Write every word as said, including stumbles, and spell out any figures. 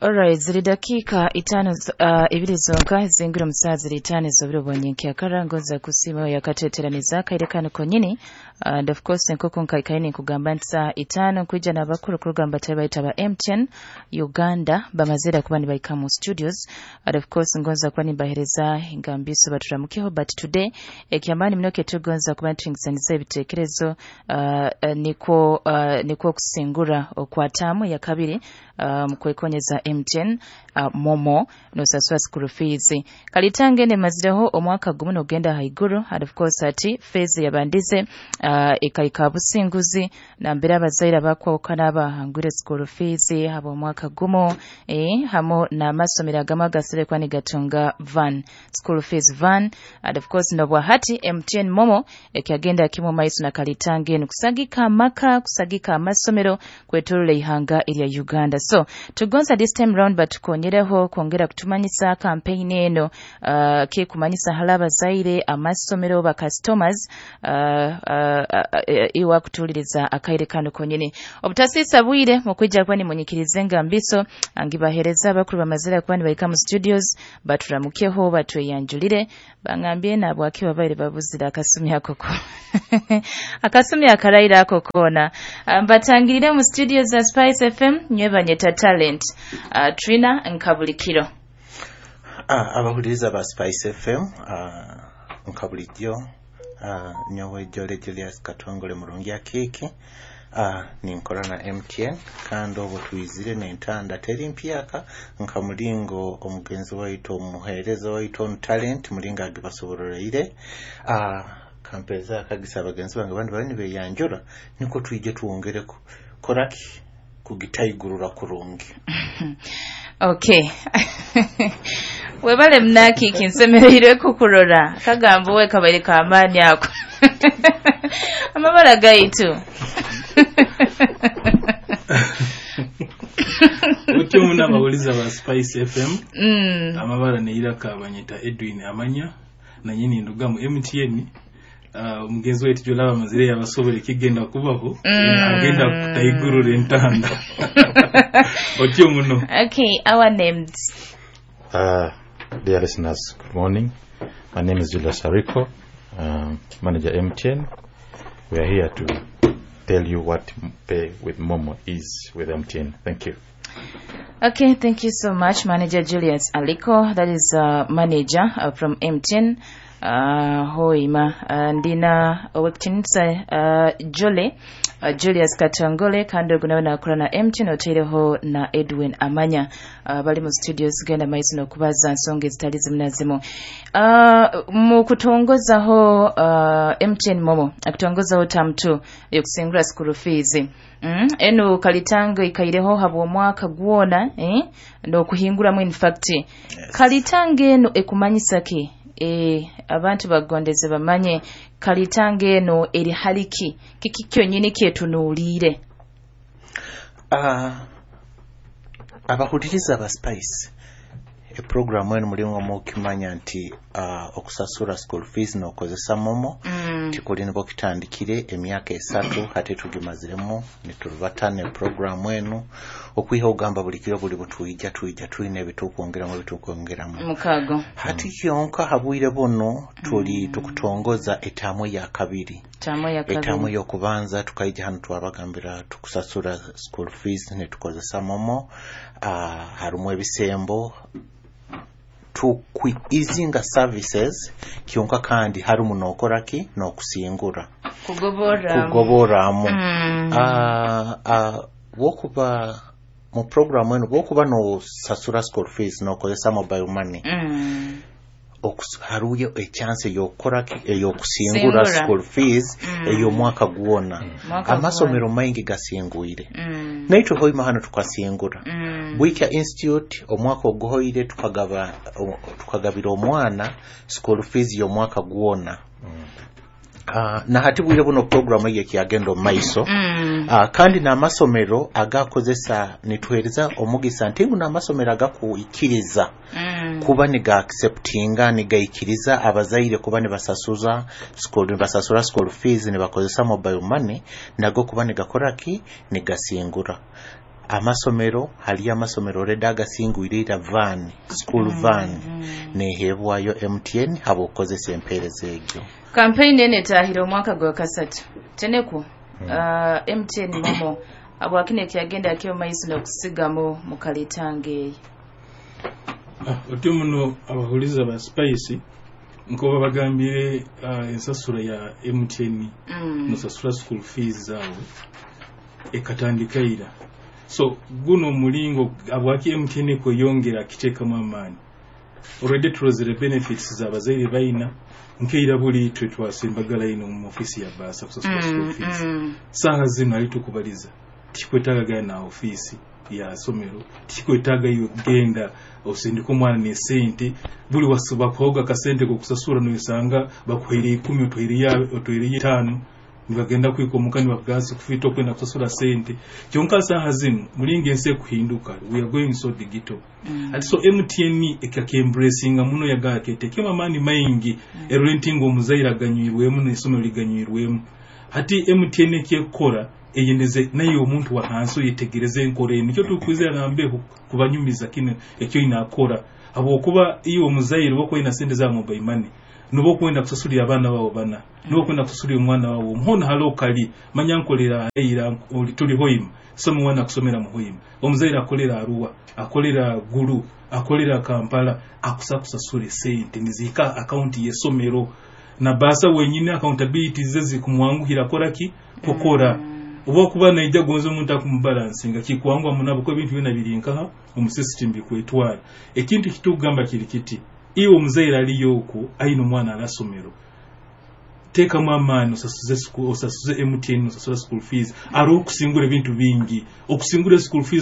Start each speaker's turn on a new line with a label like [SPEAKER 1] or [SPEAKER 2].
[SPEAKER 1] Alright, ziri dakiika itaano uh, ibiri zonka zingira omu ziri itaano ez'obiro bwa ngonza kusiima yakateeteraniza akaire kano konyini. And of course nk'oku nkaikaire ninkugamba nti saaha itaano nkwija n'abakuru kuruga batari bayita ba M T N Uganda bamazire kuba nibaika mu studios. And of course ngonza kuba nimbahereza engambiso baturamukeho, but today ekyamaani muno ketugonza kuba nituhingisaniza ebiteekerezo uh, uh, nikwo uh, nikwo okusingura okwataamu ya kabiri um, kwekonyeza M T N uh, MoMo nosasura school fees. Kalitanga emazireho omwaka gumu nogenda haiguru. And of course ati phase yabandize uh, ekaika businguzi nambere abazaire abakwawukana abahangwire school fees haba omwaka gumu eh, hamu n'amasomero agamu agasire kuba nigatunga van, school fees van. And of course nobwa hati M T N MoMo ekyagenda kimu maiso na kalitanga enu kusagika amaka, kusagika amasomero kwetorola ihanga erya Uganda. So tugonza this time round batukonyereho kwongera kutumanyisa campaign eno, uh, kekumanyisa hali abazaire, amasomero, ba customers uh, uh, uh, iwa kutuuliriza akaire kano konyini. Obutasiisa bwire mukwija kuba nimunyikirize engambiso angibahereza abakuru bamazire kuba nibaika mu studios baturamukeho, batweyanjulire, bangambye nabwaki babaire babuzire akasumi ako ko akasumi akaraira ako koona. Mbatangirire mu studio za Spice F M nywebanyeta Talent uh, Trina Nkabulikiro.
[SPEAKER 2] Ah, abahuliriza ba Spice F M, ah, nka bulijjo, ah, nyowe Jole Julius Katongole Murungi Akiiki, ah, ninkora na M T N kandi obwo twizire n'entanda teri mpyaka nka mulingo omugenzi waitu, omuheereza waitu onu Talent mulingo agibasobororoire. ah, kampeeza akagisa abagenzi bange bandi bali nibeyanjura nikwo twije twongereko koraki kugitaigurura kurungi.
[SPEAKER 1] Okay, webale munakiiki, nsemereirwe kukurora kagambo we kabaire kamaani ako amabara gaitu.
[SPEAKER 3] Otyo muna abawuliza ba Spice F M.
[SPEAKER 1] mm.
[SPEAKER 3] Amabara neiraka banyeta Edwin Amanya, nanyini nduga mu M T N. uh, omugenzi waitu jolaba amazire yabasobora ekigenda kubaho.
[SPEAKER 1] Mm.
[SPEAKER 3] Agenda kutaigurura entanda, otyo muno.
[SPEAKER 1] Okay, our names.
[SPEAKER 4] Uh, dear listeners, good morning. My name is Julius Hariko, um, manager M T N. We are here to tell you what Pay with MoMo is with M T N. Thank you.
[SPEAKER 1] Okay, thank you so much, Manager Julius Aliko. That is uh, manager uh, from M T N. Uh, hoima uh, ndina owekitinisa uh, Jole uh, Julius Katongole kandi ogu nawe nakora na M T N, oteireho na Edwin Amanya uh, bali mu studios genda maiso n'okubaza nsonga ezitali zimu na zimu uh, mu kutongozaho uh, M T N MoMo akutongozaho term two yokusingura school fees mm? Enu kalitanga ikaireho habwa omwaka gwona eh? N'okuhinguramu in fact yes. Kalitanga eno ekumanyisa ki? E, abantu bagondeze bamanye kalitanga eno eri haliki kiki kyonyini kyetunuuliire.
[SPEAKER 2] Ah, abahuliriza ba Spice, eprogramu eno mulingo mukimanya nti uh, okusasura school fees n'okozesa MoMo
[SPEAKER 1] mm.
[SPEAKER 2] tikuli nibwo kitandikire emyaka esatu hati tugimaziremu niturubatana eprogramu eno okwiha ogamba buli kiro buli butwija twija twine ebitukwongeramu ebitukwongeramu
[SPEAKER 1] Mukago.
[SPEAKER 2] Hati kyonka habwire buno tuli tukutongoza etaamu ya kabiri.
[SPEAKER 1] Tamu ya
[SPEAKER 2] Etaamu
[SPEAKER 1] kabiri.
[SPEAKER 2] Y'okubanza tukaija hano twabagambira tukusasura school fees netukozesa MoMo, uh, harimu ebisembo tukwizinga services kyonka kandi harimu nokoraki n'okusingura.
[SPEAKER 1] Kugoboramu.
[SPEAKER 2] Kugoboramu.
[SPEAKER 1] mm.
[SPEAKER 2] Ah, ah, bwokuba mu programu eno bwokuba nosasura school fees nokozesa mobile money,
[SPEAKER 1] Mm.
[SPEAKER 2] okus- hariyo echance ey'okukoraki, ey'okusingura
[SPEAKER 1] Singura.
[SPEAKER 2] school fees
[SPEAKER 1] Mm.
[SPEAKER 2] ey'omwaka gwona.
[SPEAKER 1] Mwaka.
[SPEAKER 2] Amasomero maingi gasingwire.
[SPEAKER 1] Mm.
[SPEAKER 2] Naitwe hoima hano tukasingura.
[SPEAKER 1] Mm.
[SPEAKER 2] Bwikya Institute omwaka oguhoire tukagaba o- tukagabira omwana school fees y'omwaka gwona. Uh, na hati bwire buno programu eyo ekyagenda omu maiso.
[SPEAKER 1] Mm.
[SPEAKER 2] uh, kandi n'amasomero agakozesa nituhereza omugisa nti ngu n'amasomero agakuikiriza
[SPEAKER 1] Mm.
[SPEAKER 2] kuba niga acceptinga nigaikiriza abazaire kuba nibasasuza school nibasasura school fees nibakozesa mobile money nago kuba nigakoraki nigasingura. Amasomero, haliyo amasomero already agasingwire ira van, school van nehebwayo M T N habwokukozesa empeereza egyo.
[SPEAKER 1] Kampeyini eno etahire omwaka gwa kasatu tenekwo uh, M T N MoMo abwakino ekyagenda akyo maiso n'okusigamu mu kaleetanga eyo.
[SPEAKER 3] Ah, otyo muno abahuliza ba Spice, nko babagambire, uh, ensasula ya M T N
[SPEAKER 1] Mm.
[SPEAKER 3] nosasula school fees zaabwe ekatandika ira. So guno omulingo abwaki M T N ekweyongera kiteekamu amaani. Already tulozere benefits z'abazaire bayina, nkeira buli itwe twasembagala ino mu ofisi ya bursar kusasula school
[SPEAKER 1] Mm,
[SPEAKER 3] fees.
[SPEAKER 1] mm.
[SPEAKER 3] Saaha zino ali tukubaliza tikikwetaaga genda na ofiisi ya somero, tikikwetaaga iwe kugenda osindika omwana nesente. Buli wasi bakuhoga akasente kokusasura, noyesanga bakuhaire ikumi, otwaireyo otwaireyo etaano, nibagenda kwikomuka nibakugasa kufita okwenda kusasura sente. Kyonka saaha zino mulinga ensi ekuhinduka, we are going so digital.
[SPEAKER 1] Mm.
[SPEAKER 3] Ati so M T N ekakembracinga muno, yagala ketekemu amaani maingi, erole nti nga omuzaire aganywirwemu n'essomero liganywirwemu. Hati M T N ekyekukora eyendeze naye omuntu wa hansi oyetegereze enkora eno, nikyo tukwizira nambeho kubanyumiza kino ekyo inakora, habwokuba iwe omuzaire oba okwenda sente za mobile money, noba okwenda kusasulira abaana baabo bana, noba okwenda kusasulira omwana wawe omuhona hali okali manya nkolera eira oli tuli Hoima, soma omwana akusomera mu Hoima, omuzaire akolera Arua, akolera Gulu, akolera Kampala, akusa kusasula esente niziika akaunti y'essomero na bursar wenyini accountability ze zikumwanguhira kora ki kukora. Oba okuba naija gonza omuntu akumubalansinga kikwanguha munabo ko ebintu byona biri nkaha omu system bikwetwara. Ekintu kitugamba kiri kiti, iwe omuzaire aliyo okwo aine omwana alasomero, teekamu amaani osasuze school- osasuze M T N, osasula school fees. Ari okusingura ebintu bingi, okusingura school fees.